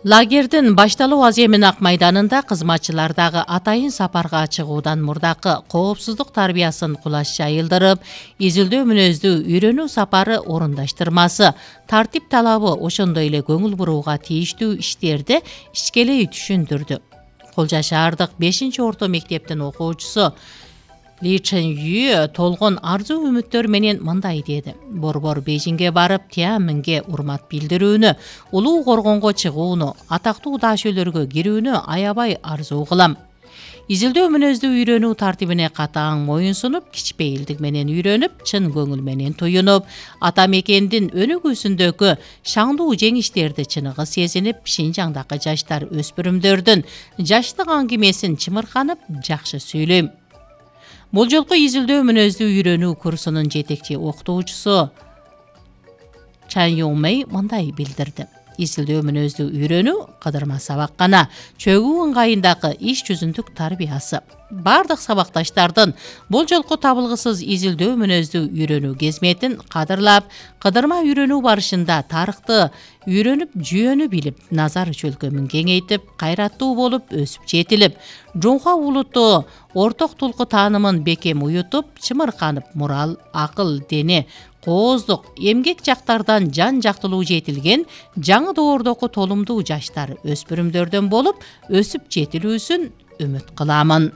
Лагердин башталуу аз эмин Ак майданында кызматчылар дагы атайын сапарга чыгуудан мурдакы коопсуздук тарбиясын кулаш жайылдырып, изилдөө мүнөздүү үйрөнүү сапары орундаштырмасы, тартип талабы ошондой эле көңүл бурууга тийиштүү иштерди ичкелей түшүндүрдү. Колжа шаардык 5-орто мектептин окуучусу Ли Чен Ю толгон арзуу үмүттөр менен мындай деди: борбор Бейжиңге барып, Тианьанменге урмат билдирүүнү, улуу коргонго чыгууну, атактуу даашөлөргө кирүүнү аябай арзуу кылам. Изилдөө мүнөздүү үйрөнүү тартибине катаң моюн сунуп, кичпейилдик менен үйрөнүп, чын көңүл менен туюнуп, ата мекендин өнүгүүсүндөгү шаңдуу жеңиштерди чыныгы сезинип, Шинжаңдагы жаштар өспүрүмдөрдүн жаштык аңгемесин чымырканып жакшы сүйлөйм. Бул жолку изилдөө мүнөздүү үйрөнүү курсунун жетекчи окутуучусу Чан Юңмэй мындай билдирди: изилдөө мүнөздүү үйрөнүү кыдырма сабак гана, чөгүү ыңгайындагы иш жүзүндүк тарбиясы. Бардык сабакташтардын бул жолку табылгысыз изилдөө мүнөздүү үйрөнүү кезметин кадырлап, кыдырма үйрөнүү барышында тарыхты үйрөнүп, жүйөнү билип, назар чөлкөмүн кеңейтип, кайраттуу болуп өсүп жетилип, жунха улуту орток тулку таанымын бекем уютуп, чымырканып, мурал, акыл, дене, кооздук, эмгек жактардан жан жактылуу жетилген жаңы доордогу толумдуу жаштар, өспүрүмдөрдөн болуп өсүп жетилүүсүн үмүт кыламын.